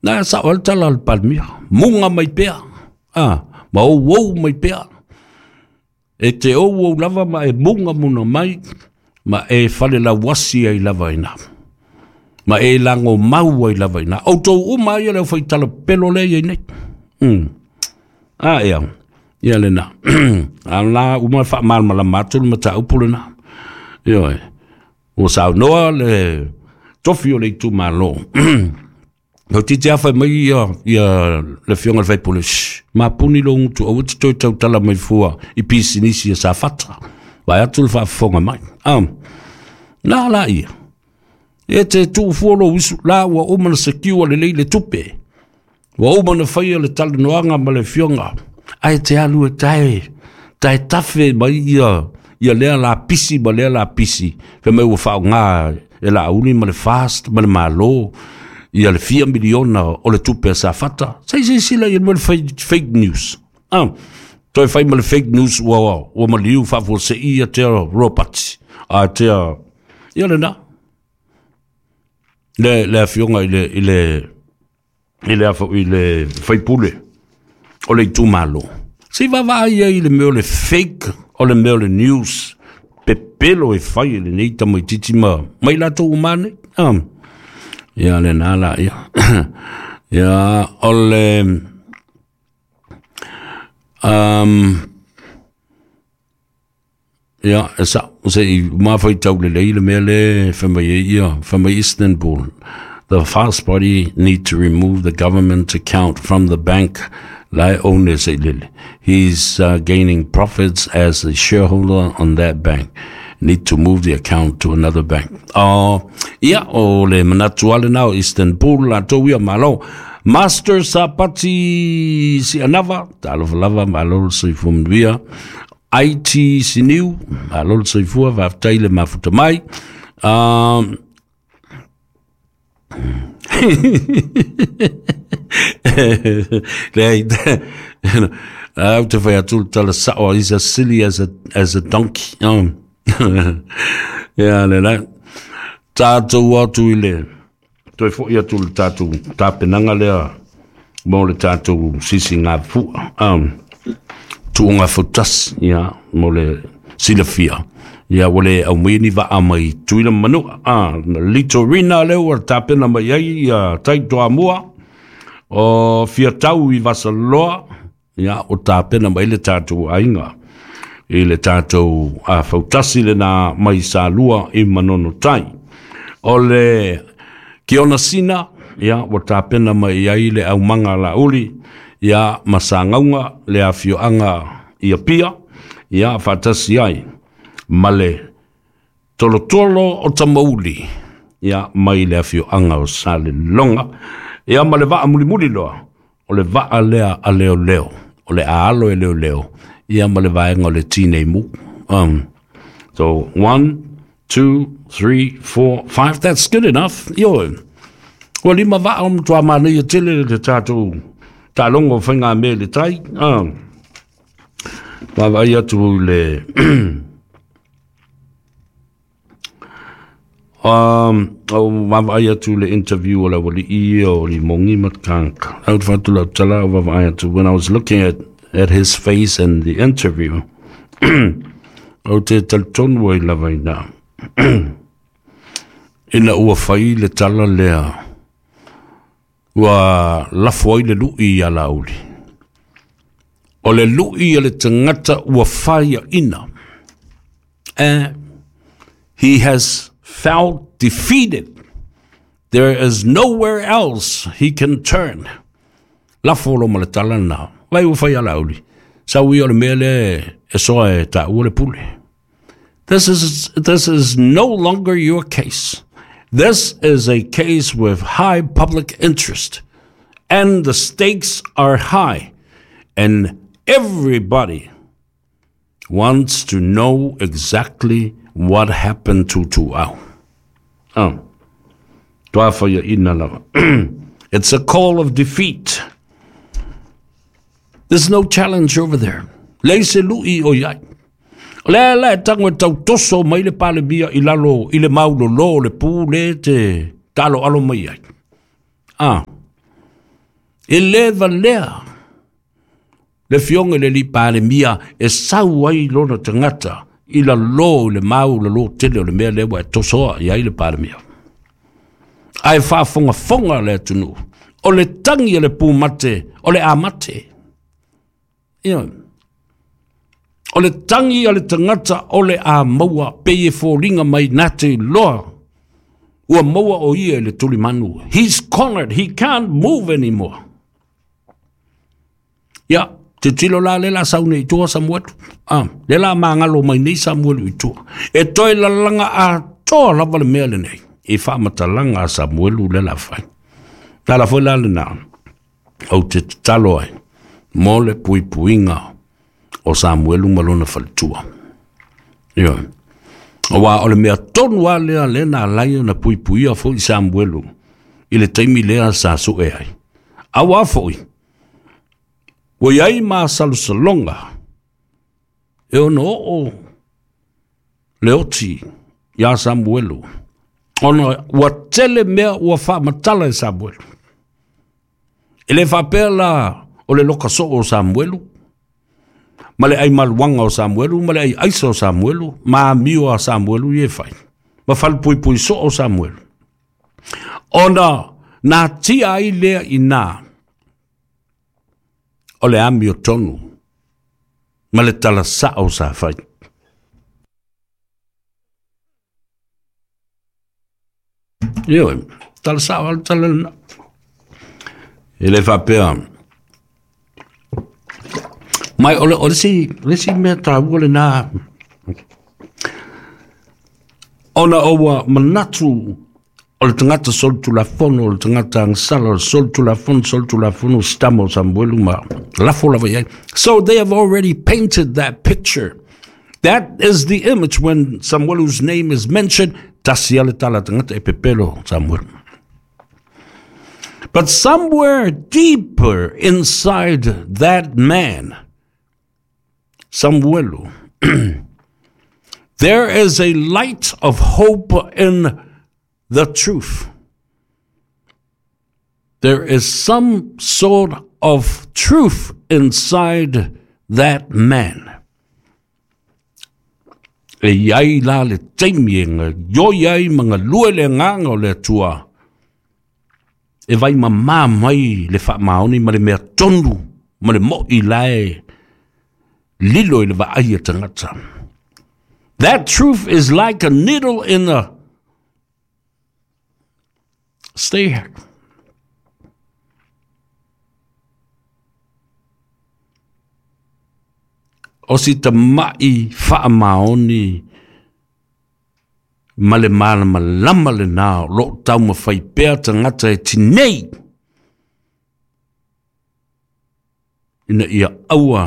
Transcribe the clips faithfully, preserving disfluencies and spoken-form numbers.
Na sa o le tala o le Palemia, muga mai pea, a, ma ouou mai pea. E te ouou lava ma e muga muna mai, ma e falelauasi ai lava ina. Ma e lago mau ai lava ina. Outou uma ia le fai tala pelo le ia nei. Mm. A ia, ia lena. A la uma fa mal malama atu le mataupu lena. Ioe. Ua saunoa le tofi o le itumalo. O titi afa mai ia, ia le fionga le faipule, shh, mapuni lo ngutu, aua te toe tautala mai fua i pisinisi e Safata. Vai atu le faafofoga mai. Ah, na la ia. E te tuu fua lo uisu, la ua uma na secure lelei le tupe. Ua uma na faia le talanoaga ma le fionga. Ai te alu e tae, tae tafe mai ia, ia lea la pisi ma lea la pisi. Fe mai ua whaonga e la uni ma le fast ma le malo. Ia le fia miliona o le tupe a Safata. Sei sei sila ia mo le fake, fake news. Ah, toe fai ma le fake news ua, ua maliu faafuasei ia tea Robert. A tea, ia le na. Le, le afioga i le, i le, i le afo, i le faipule o le itumalo. Se vaavaai ai i le mea o le fake o le mea o le news pepelo e fai e lenei tamaitiiti ma mai latou uma nei. Ah. Ia lena la ia. Ia o le um, ia e sa se i mafai tau lelei le mea le fai mai ai ia fai mai Istanbul. The fast party need to remove the government account from the bank lai own se lele. He's uh, gaining profits as a shareholder on that bank. Need to move the account to another bank. Oh, ia, o le manatu ale nao Istanbul la tou ia malo. Master Sapati Sianava, talofa lava, malo le soifua manuia. I T Siniu, malo le soifua, faafetai le mafuta mai. Um, le, au te whai atu le tala sao, he's as silly as a, as a donkey. Um, ia le la. Tātou atu i le, toe foi atu le tātou tapenaga lea mo le tātou sisi ngā fua. Um, tuunga fautasi, ia, mo le silafia. Ia, ua le aumai ni vaa mai Tuila manua. Ah, Litorina lea ua tapena mai ai, ia, tai toamua. O Fiatau i Vasaloa, ia, o tapena mai le tātou aiga. I le tātou a fautasi lena mai Salua i Manono Tai. O le Kiona Sina, ia, ua tapena mai ai le aumaga lauli, ia, ma Sagauga le afioaga i Apia, ia, faatasi ai ma le tolotolo o Tamauli, ia, mai le afioaga o Saleloga, ia, ma le vaa mulimuli loa, o le vaa lea a leoleo, o le aalo e leoleo, ia, ma le vaega o le tinei mu. Um, so, one, two, three, four, five, that's good enough. Ioe. Ua lima vaa o matua manaia tele le tātou tālogo o faiga mea i le tai. Um, vaavaai atu i le um, o vaavaai atu le interview o le aualii o Limogi ma Kanka. Au te whatu lau tala o vaavaai atu. When I was looking at, at his face in the interview, au te talitonu ai lava ina. Ina ua fai le tala lea, ua lafo ai le lui ia Laauli. O le lui a le tagata ua faiaina. Eh, he has felt defeated. There is nowhere else he can turn. Lafo lo ma le tala na. Vai ua fai a Laauli. Sau ia o le mea le e soa e tāua le pule. This is, this is no longer your case. This is a case with high public interest, and the stakes are high, and everybody wants to know exactly what happened to Tuau. Oh. Toa whaia ina lava. It's a call of defeat. There's no challenge over there. Lei se lui o iai. O lea la e tango e tau toso mai le Palemia i lalo i le maulolo o le pu le te talo alo mai ai. Ah. E le valea le fionga le li palemia e sau ai lona tagata i la lo le mau le lo tele o le mea lea ua e tosoa i ai le palemia. Ae faafogafoga le atunuu, o le tagi a le pumate, o le amate. Ia, o le tagi a le tagata o le a maua pei e foliga mai na te iloa ua maua o ia i le tulimanu. He's cornered, he can't move anymore. Ia, titilo la le la saune i tua Samuelu. Ah, le la mangalo mai nei Samuelu i tua. E toe lalaga atoa lava le mea lenei i faamatalaga a Samuelu le la fai. La la foi la lena ou te tatalo ai mo le puipuiga o Samuelu ma lona faletua. Ia, aua o le mea tonu lava lea lea na ala ai ona puipuia foi Samuelu i le taimi lea sa sue ai. Auā foi, ua i ai masalosaloga e ono oo le oti iā Samuelu, ona ua tele mea ua faamatala e Samuelu. E le faapea la o le loka soo o Samuelu, ma le aimaluaga o Samuelu, ma le aiaisa o Samuelu, ma amio a Samuelu ia e fai, ma falepuipui soo o Samuelu. Ona natia ai lea i ina o le amiotonu ma le talasao sa fai. Ioe, talasao a le tala lena. E le faapea mai o le, o le isi, le isi mea taua lena, ona o ua manatu o le tagata solitulafono, o le tagata agasala, o le solitulafono, solitulafono, sitama o Samuelu ma lafo lava i ai. So they have already painted that picture. That is the image when Samuelu's name is mentioned. Tasi a le tala tagata e pepelo Samuelu. But somewhere deeper inside that man, Samuelu, there is a light of hope in the truth. There is some sort of truth inside that man. E i ai la le taimi e gaoioi ai ma galue le agaga o le Atua e vaimamā mai le faamaoni ma le mea tonu ma le mo'i la e lilo i le vaai a tagata. That truth is like a needle in a stay. O si tama'i faamaoni ma le malamalama lena o loo taumafai pea tagata e tinei ina ia aua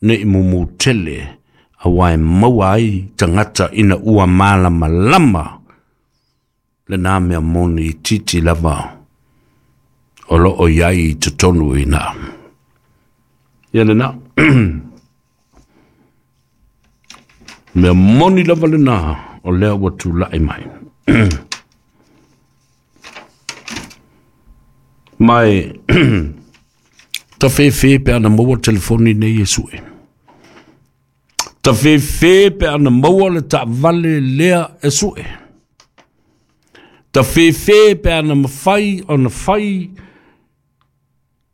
ne'i mumu tele auā e maua ai tagata ina ua malamalama lena mea moni itiiti lava o loo i ai i totonu i ina. Ia lena. Mea moni lava lena o lea ua tula'i mai. Mai tafefe pe ana maua telefoni nei e sue. Tafefe pe ana maua le taavale lea e sue. Tafefe pe ana mafai ona fai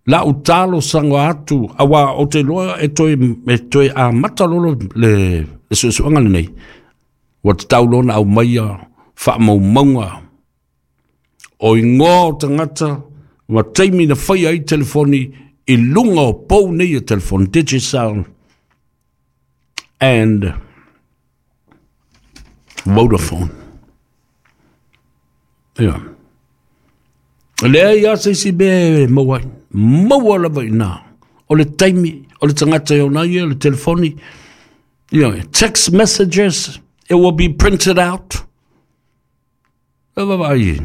lau talosaga atu, auā o te iloa e toe, e toe amata lolo le, le suesuega lenei. Ua tatau loa ona aumaia faamaumauga o igoa o tagata ma taimi na faia ai telefoni i luga o pou nei e telefoni, Digicel and Vodafone. Ia. E leai lava se isi mea e maua ai. Maua lava i ina. O le taimi, o le tagata e ona ai ia le telefoni. Ia, text messages, it will be printed out. E vaavaai i ai.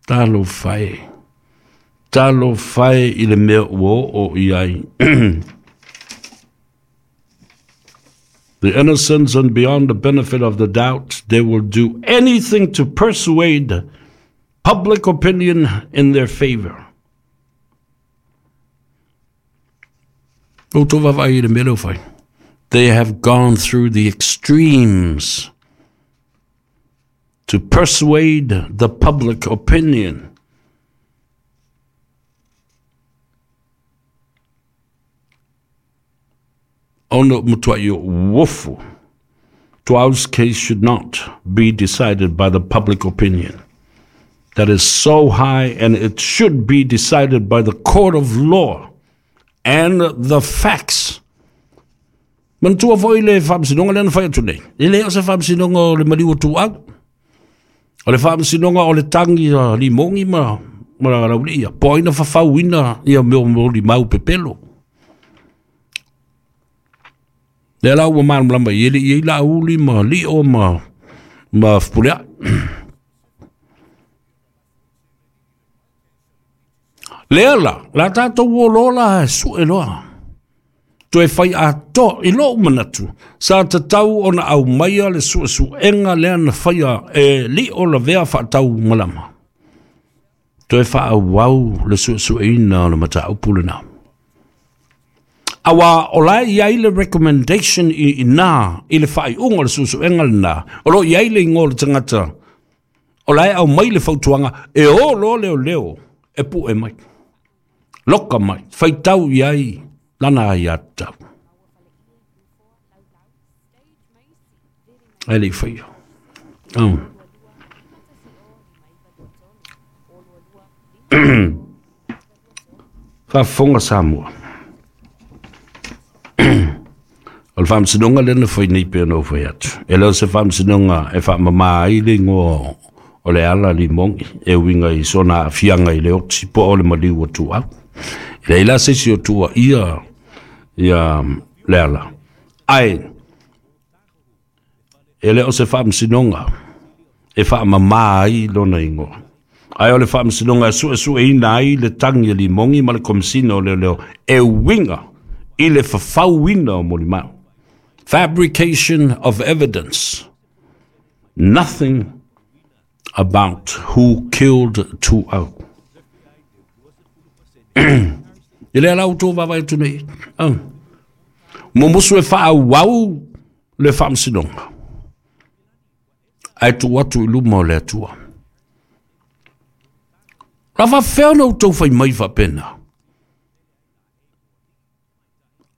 Talofa e. Talofa e i le mea ua oo i ai. The innocents and beyond the benefit of the doubt, they will do anything to persuade public opinion in their favor. They have gone through the extremes to persuade the public opinion. Ono mutua wofu. Tuau's case should not be decided by the public opinion. That is so high, and it should be decided by the court of law and the facts. Manatua foi le faamasinoga lea na fai atu nei. E le o se faamasinoga o le maliu o Tuau. O le faamasinoga o le tagi a Limogi ma ma Laulia. Po ai na fafauina ia mea o limau pepelo. Lea la ua malamalama i ele i la uli ma lio ma ma fupulea. Lea la, la tātou o lola e sue loa. Toe fai atoa i lou manatu. Sa tatau ona au maia le suesuega lea na faia e lio lavea faatau malama. Toe faauau le suesueina o le mataupu lena. Awa o la i ai le recommendation i ina i le faaiuga o le suesuega lena. O lo i ai le ingoa o le tagata. O la e au mai le fautuaga e o loa leoleo e pue mai. Loka mai, faitau i ai lana ai atau. Ai le whaia. Oh. Faafofoga Samoa. O le faamasinoga lea na fai nei pea na ou fai atu. E le o se faamasinoga e faamamā ai le igoa o le ala Limogi e uiga i sona aafiaga i le oti po o le maliu o Tuau. E leai la se isi o tua ia ia le ala. Ae e le o se faamasinoga e faamamā ai lona igoa. Ae o le faamasinoga e suesueina ai le tagi a Limogi ma le Komesina o Leoleo e uiga i le fafauina o molimau. Fabrication of evidence. Nothing about who killed Tuau. E lea lau tō vavae atu nei. Oh. Momosu e faauau le faamasinoga. Ae tuu atu i luma o le Atua. La faafefea ona outou fai mai faapena.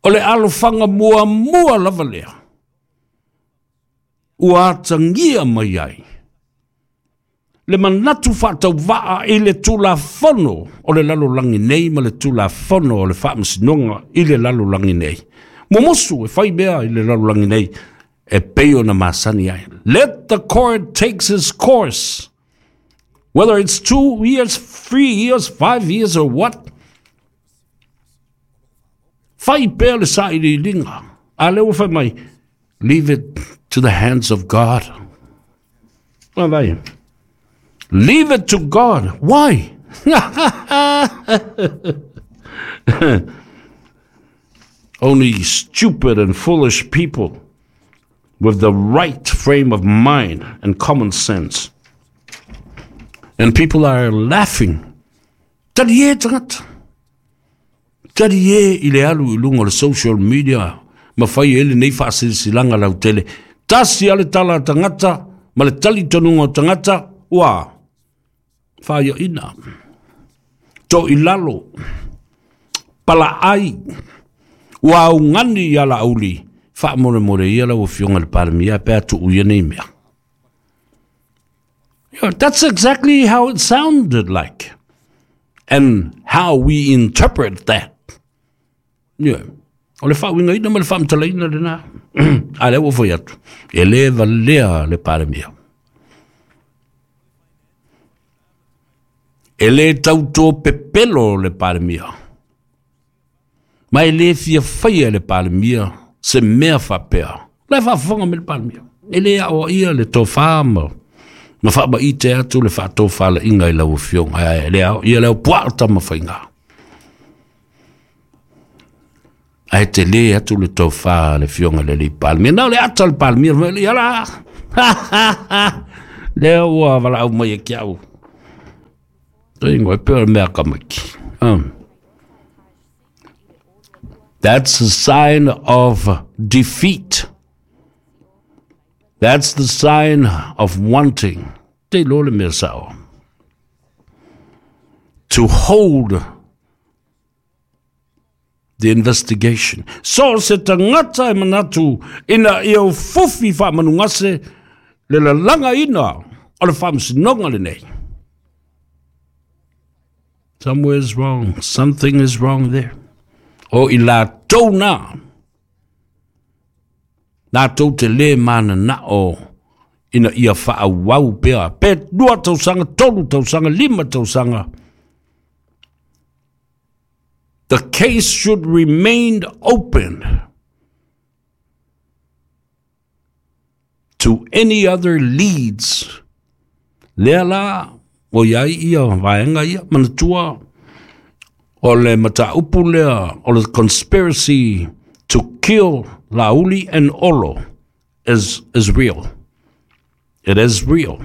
O le alofaga muamua lava lea. Ua atagia mai ai le manatu faatauvaa i le tulafono o le lalolagi nei ma le tulafono o le faamasinoga i le lalolagi nei. Momosu e fai mea i le lalolagi nei e pei ona masani ai. Let the court takes its course. Whether it's two years, three years, five years or what. Fai pea le sailiiliga. A lea ua fai mai, leave it to the hands of God. Vai. Leave it to God. Why? Only stupid and foolish people with the right frame of mind and common sense. And people are laughing. Tali e tagata. Tali e i le alu i luga o le social media. Ma fai e lenei faasilasilaga lautele. Tasi a le tala a tagata ma le talitonuga o tagata. Ua, faaiaina, to i lalo, palaai, ua augani ia Laauli, faamolemole ia lau afioga i le Palemia pe a tuu ia nei mea. Yeah, that's exactly how it sounded like and how we interpret that. Yeah. O le faauigaina ma le faamatalaina lena. A lea ua foi atu, e lē valea le Palemia. E le tautō pepelo le Palemia. Ma e le fia faia le Palemia se mea faapea. La e faafofoga mai le Palemia. E le aoaia le tofā ma, ma faamaite atu le faatofalaiga i lau afioga. E le aoaia le au puaa tamafaiga. Ae te lē atu le tofā le afioga le alii Palemia. Na o le ata o le Palemia, ia la. Lea ua valaau mai e ke au. Ingo e pea mea kamaki. Um. That's a sign of defeat. That's the sign of wanting. Te lole mea sao. To hold the investigation. So se tangata e manatu ina ia fufi wha manungase le lalanga ina o le whaamasinonga le nei. Somewhere is wrong. Something is wrong there. O i la tau nā. Nā tau te le mana na o ina ia wha wau pea. Pe dua tausanga, tolu tausanga, lima tausanga. The case should remain open to any other leads. Lea la, o iai ia, vaenga ia, manatua, o le mataupu lea, o le conspiracy to kill Lauli and Olo is, is real. It is real.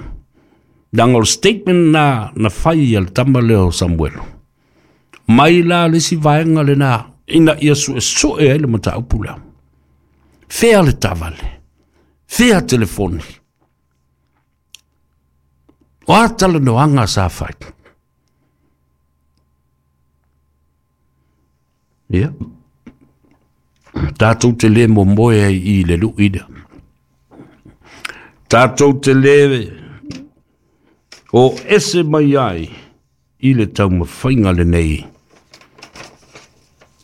Danga o statement na, na whai al tama leo Samuel. Mai la le si vaenga le na, ina ia su e su e le mataupu lea. Fea le tavale, fea telefoni. O atala no anga sa whai. Ia. Tātou te le mo moe ai i le luida. Tātou te le o ese mai ai i le taumawhainga le nei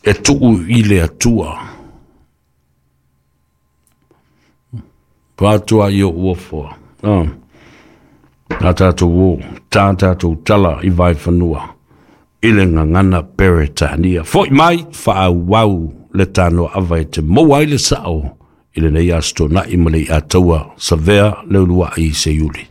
e tuu i le atua. Pātua i o uafoa. Ah. Tā tātou o, tā tātou tala i vai whanua. I le ngangana Peretania. Foi mai, wha wau le tānoa awa e te moa i le sao i le nei asto na i male i ataua savea le ulua i se iuli.